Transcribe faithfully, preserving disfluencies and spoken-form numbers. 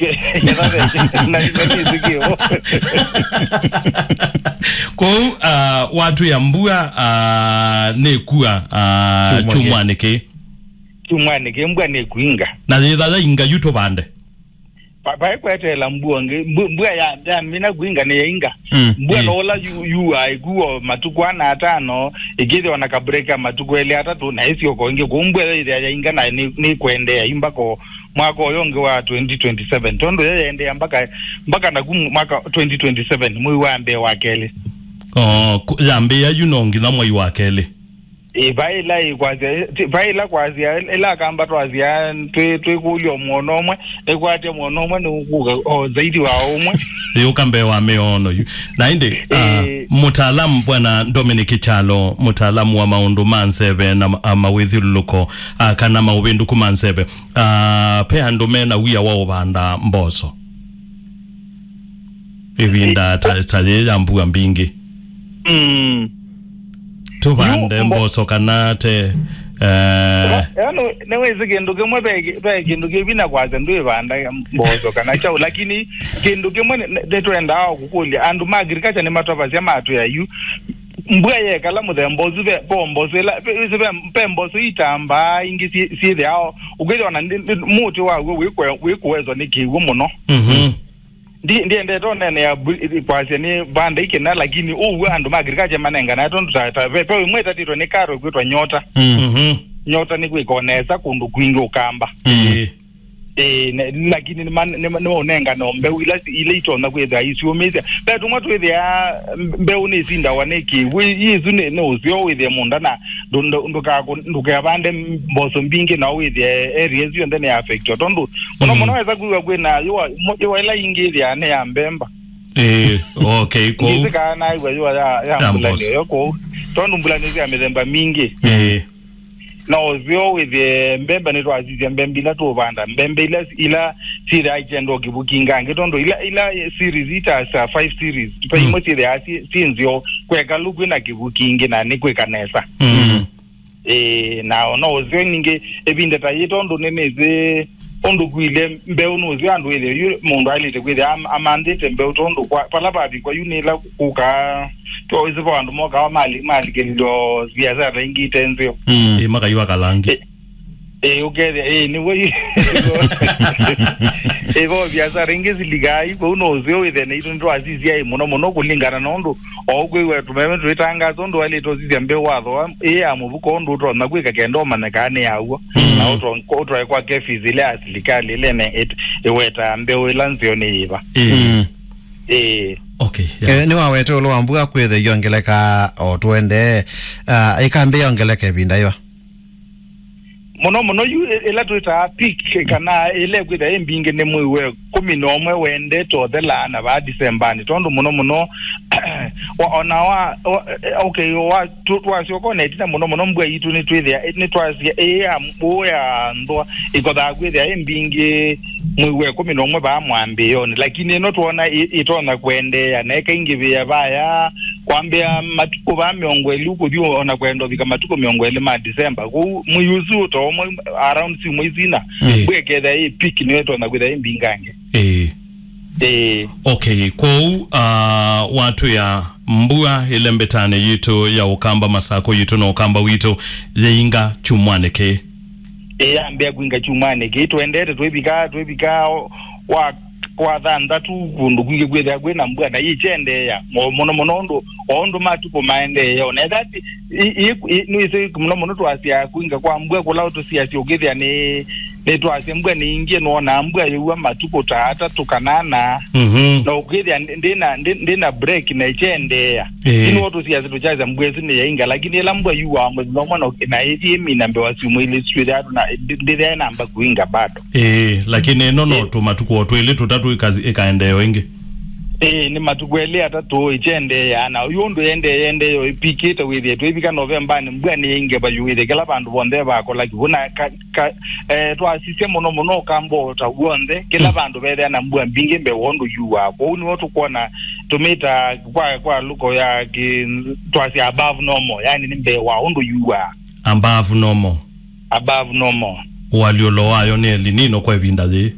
Na, na nĩsĩkĩo. Kwoou, ah, watwĩa mbua, ah, nĩkua, ah, kyumwanĩ kĩĩ. Kyumwanĩ kĩĩ mbua nĩkwinga. Na yĩtha yainga yu tũvande. Pa-, paĩ kweteela mbua ngĩ, mbu-, mbua ya, yamina kwinga nĩ yainga. Mm, mbua ĩĩ. No ũla yu-, yuaa ĩkuo matukũ ana atano, ĩkĩthĩwa na kabreak ya matukũ elĩ atatũ, na ĩsyoka ĩngĩ. Kwoou mbua ĩyo ĩthĩa yainga na nĩ, nĩ kwendeea yu mpaka o mwaka ũyũ ũngĩ wa twenty twenty-seven, tondũ yo yaendeea mpaka, mpaka naku mwaka twenty twenty-seven, mwei wa mbee wa kelĩ. Oh, ku-, yambĩĩa yu no nginya mwei wa kelĩ. Ĩ, vai ĩla ĩkwasya, ti-, vai ĩla kwasya, ĩla akamba twasya, twĩ, twĩkũlya o mwono ũmwe, nĩkwatya mwono ũmwe nĩũkũka o zaidi wa ũmwe. Yũka mbee wa mĩono yu. Na ĩndĩ, ah, ĩĩ. Mũtaalamu Bwana Dominic Kyalo, mũtaalamu wa maũndũ ma nzeve na ma-, a mawĩthyũlũlũko, ah, kana maũvĩndũku ma nzeve, ah, pe andũ mena wia wa ũvanda mboso ĩvinda ta, ta yĩĩ ya mbua mbingĩ. Mm. Tũvande yu mbo- mboso kana te, eh. Ĩno nĩwĩsĩ kĩndũ kĩmwe, ve kĩ-, ve kĩndũ kĩvina kwasya ndwĩvanda mboso kana kyaũ, lakini kĩndũ kĩmwe nĩ, nĩ, nĩtwendaa o kũkũlya andũ ma agriculture nĩmatavasya matwĩa yu mbua yekala mũthemba ũsu, ve, ve mboso ĩla, ve, ve, ve, ve mboso itambaa ingĩ syĩ-, syĩthĩawa, ũkĩthĩa ona ndi-, ndi-, mũtĩ waw'o wĩkwe-, wĩkũwezwa nĩ kĩw'ũ mũno. Mhm. Ndi-, ndiendete ũneenea bu-, kwasya nĩ vanda ikĩna, lakini ũw'o andũ ma agriculture manenganae tondũ ta, ta, ve, ve ĩmwe ĩtatĩtwe nĩ karo ĩkwĩtwa nyota. Mhm. Nyota nĩ kwĩka o nesa kũndũ kwingĩ ũkamba. Ĩĩ. Ĩĩ, ne-, lakini nĩma-, nĩma-, nĩmaũnengana o mbeu ila, ila itonya kwĩthĩa isyũmĩsya. Ve tũmwe twĩthĩa mbe-, mbeũ nĩsindawa nĩ kĩw'ũ, ĩ-, ĩ-, ĩsu nĩ, nĩ ũseo wĩthĩe mũũnda na ndũ-, ndũ-, ndũkakũ-, ndũkevande mboso mbingĩ na wĩthĩe area ĩsu yonthe nĩ affectwa. Tondũ mũno mũno wesa kwĩw'a kwĩna yũa, mo-, yũa ĩla ingĩ ĩthĩaa nĩ ya mbemba. Ĩĩ, okay, kũu. Ngĩsĩ kana naĩw'a yũa ya, ya ya mboso. Mbulani ĩyo kũu. Tondũ mbulani sya mĩthemba mingĩ. Ĩĩ. Na ũseo wĩthĩe mbemba nĩtwasisya mbemba ila tũũvanda. Mbemba ila, ila syĩthĩaa ikyenda o kĩvukinga angĩ. Tondũ ila, ila series ita sa five series. Twa imwe syĩthĩaa syĩ, syĩ nzeo. Kweka lũkwĩ na kĩvukingi na nĩkwĩka nesa. Mm. Ĩĩ, na ona ũseo ningĩ ĩvinda ta yĩ tondũ nĩnĩsĩ ũndũ kwilye mbeũ nũsyo andũ ĩthĩ yu mũndũ aĩlĩte kwĩthĩa am-, amanthĩte mbeũ tondũ kwa, vala vavikwa yu nĩla kũkaa twaĩsĩ vo andũ mokaa mali-, malikĩlilyo viasara ingĩ ite nzeo. Mm. Ĩ, makaiwa kalangi. Ĩ, ĩ, ũkethĩa, ĩ, nĩw'o yu. Ĩ, vo viasara ingĩ silikaa yu, kũu nũsyo wĩthĩa naitũ nĩtwasisya ĩ mũno mũno kũlingana na ũndũ o ũkwĩw'a tũmeme twĩtangaasa ũndũ waĩlĩte ũsisya mbeũ wathoa ĩ ya mũvuko ũndũ ũtonya kwĩka kenda ũmanya kana nĩ ya w'o. Mm. Na ũtwa-, ũtwae kwa KEPHIS ĩla ya silikalĩ ĩla ĩne-, ĩt-, ĩwetaa mbeũ ĩla nzeo nĩ yĩva. Ĩĩ. Mm. Ĩĩ. Okay, yeah. Eh, nĩwawete ũlũ wa mbua kwĩthĩa iongeleka o tũendee. Ah, ĩkambĩĩa ongeleka ĩvinda yĩva? Mũno mũno yu ĩ-, ĩla twĩtaa peak kana ĩla ĩkwĩthĩa ĩ mbingĩ nĩ mwei wa ĩkũmi na ũmwe wendete ũthelaa na vaa Disembanĩ, tondũ mũno mũno wa-, ona wa, wa, okay, wa, tu-, twasyoka ona ĩtina mũno mũno mbua yitũ nĩtwĩthĩa, nĩtwasya ĩ ya, ũ ya nthwa ĩkothaa kwĩthĩa ĩ mbingĩ mwei wa ĩkũmi na ũmwe vaa mwambĩĩonĩ, lakini ĩno twona ĩ-, ĩtonya kwendeea na ĩkaingĩvĩa vaya kwambĩa matukũ vaa mĩongo ĩlĩ ũkũthi ona kwenda ũvika matukũ mĩongo ĩlĩ ma Disemba. Kwoou mwei ũsu ũtomo around syumwa isu ina, mm, mbua ĩkethĩa ĩ peak nĩyo ĩtonya kwĩthĩa ĩ mbingange. Ĩĩ. Ĩĩ. Okay, kwoou, ah, watwĩa mbua ĩle mbĩtanĩ yitũ ya Ũkamba, Masakũ yitũ na Ũkamba witũ yĩinga kyumwanĩ kĩĩ? Ĩĩ, yambĩa kwinga kyumwanĩ kĩĩ. Twendete twĩvika, twĩvika o-, wa, kwa thanthatũ kũndũ kwingĩ kwĩthĩa kwĩna mbua na yĩkyendeea mo-, mũno mũno ũndũ, o ũndũ matukũ maendeea. Ona ethĩwa ti-, i-, i-, i-, nĩwĩsĩ mũno mũno twasya kwinga kwa mbua kũla tũsiasya ũkĩthĩa nĩ, nĩtwasya mbua nĩ ingĩ, nĩwonaa mbua yĩua matukũ ta atatũ kana ana. Mhm. Na ũkĩthĩa ndi-, ndĩna, ndi-, ndĩna break na ĩkyendeea. Ĩĩ. Ti nĩw'o tũsiasya tũkyasya mbua ĩsu nĩyainga, lakini ĩla mbua yuaa mũthenya ũmwe na, na ĩthi ĩmina mbee wa syumwa ilĩ, syĩthĩaa tũna-, ndi-, ndĩthĩaa ĩnamba kwinga bado. Ĩĩ, lakini ĩno no, ĩĩ, tũmatukũ o twĩlĩ tũtatũ ĩka-, ĩkaendeea o ĩngĩ. Ĩĩ, nĩ matukũ elĩ atatũ ĩkyendeea, na yu ũndũ yendee, yendee yo ĩpikĩte wĩthĩe twĩvika Novembanĩ, mbua nĩyaingĩva yu wĩthĩe kĩla vandũ vonthe vakola kĩw'ũ, na ka-, ka-, eh, twasisya mũno mũno Ũkamba o ta w'onthe, kĩla, mm, vandũ vethĩa na mbua mbingĩ mbee wa ũndũ yuaa. Kwoou nĩw'o tũkwona tũmĩta kwa, kwa lũko ya kĩ-, twasya above normal, yani nĩ mbee wa ũndũ yuaa. Above normal. Above normal. Ũalyũlo wayo nĩ El Nino kwa ĩvinda yĩĩ.